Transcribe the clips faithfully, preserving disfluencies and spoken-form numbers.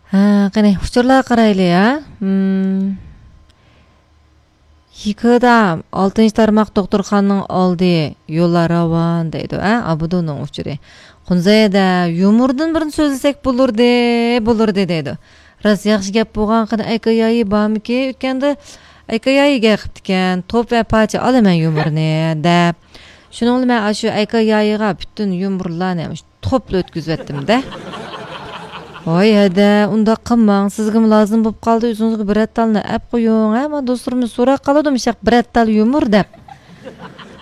ھە، قېنى، ئۇچۇرلارغا قارايلى، ھە؟ ھىم. يىكىدا ئالتىنچى تارماق دوختۇرخانىنىڭ ئالدى، يوللار راۋان دەيدۇ، ھە؟ ئابدۇنىڭ ئۇچۇرى. قۇنزەيدە يۇمۇردىن بىرنى سۆزلىسەك بولۇردى، بولۇردى دەيدۇ. راست ياخشى گەپ بولغان، قېنى، ئەيكا يايى بارمىكى؟ ئۆتكەندە ئەيكا يايى گەپ قىپتىكەن، توپ ۋە پاچە ئالىمەن يۇمۇرنى، دەپ. شۇنىڭ بىلەن مەن ئاشۇ ئەيكا يايىغا پۈتۈن يۇمۇرلارنى توپلا ئۆتكۈزۈۋەتتىم-دە. ۋاي ھەدە، ئۇنداق قىلماڭ، سىزگىمۇ لازىم بولۇپ قالدى، ئۆزىڭىزگە بىرەر تالنى ئەپ قويۇڭ، ھە، مانا دوستلىرىمىز سوراپ قالىدۇ مۇشۇنداق بىرەر تال يۇمۇر دەپ.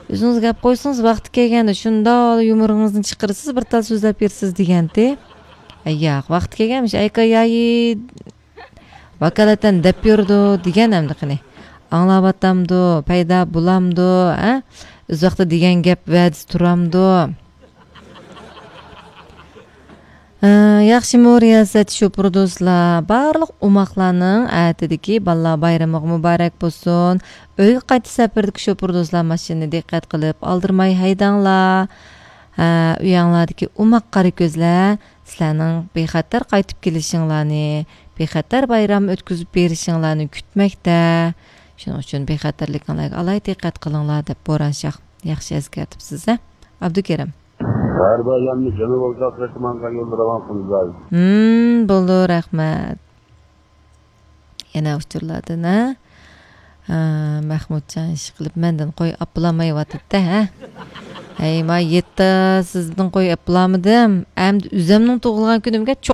ئۆزىڭىز گەپ قويسىڭىز، ۋاقتى كەلگەندە شۇنداق يۇمۇرىڭىزنى چىقىرىسىز، بىر تال سۆزلەپ بېرىسىز دېگەنتى. ئەي ياق، ۋاقتى كەلگەن مۇشۇ ئەيكا يايى ۋاكالىتەن دەپ يۈرىدۇ دېگەن ئەمدى قېنى. ئاڭلاۋاتامدۇ، پەيدا بولامدۇ، ھە؟ ئۆز ۋاقتىدا دېگەن گەپ ۋەدىسى تۇرامدۇ؟ ھە، ياخشىمۇ رىياسەت شوپۇر دوستلار؟ بارلىق ئوماقلارنىڭ ئەتىدىكى بالىلار بايرىمىغا مۇبارەك بولسۇن. ئۆيگە قايتىش سەپىرىدىكى شوپۇر دوستلار ماشىنىنى دىققەت قىلىپ ئالدىرىماي ھەيدەڭلار. ھە، ئۆيەڭلاردىكى ئوماق قارا كۆزلەر سىلەرنىڭ بىخەتەر قايتىپ كېلىشىڭلارنى، بىخەتەر بايرام ئۆتكۈزۈپ بېرىشىڭلارنى كۈتمەكتە. شۇنىڭ ئۈچۈن بىخەتەرلىكىڭلارغا ئالاھىدە دىققەت قىلىڭلار، دەپ بوران شاھ ياخشى ئەسكەرتىپسىز، ھە؟ ئابدۇكېرىم. ھەر بايرامنى جەنۇبىي ئوتاق تېرىقىمانغا يوللىرىغان قۇنزاي. ھىم، بولدى، رەھمەت. يەنە ئۇچۇرلاردىن، ھە؟ ھە، مەخمۇتجان ئىشقىلىپ مەندىن قوي ئاپلامايۋاتىدۇ، ھە؟ ھەي، ما يەتتە سىزدىن قوي ئاپلامىدىم. ئەمدى ئۆزۈمنىڭ تۇغۇلغان كۈنۈمگە چوق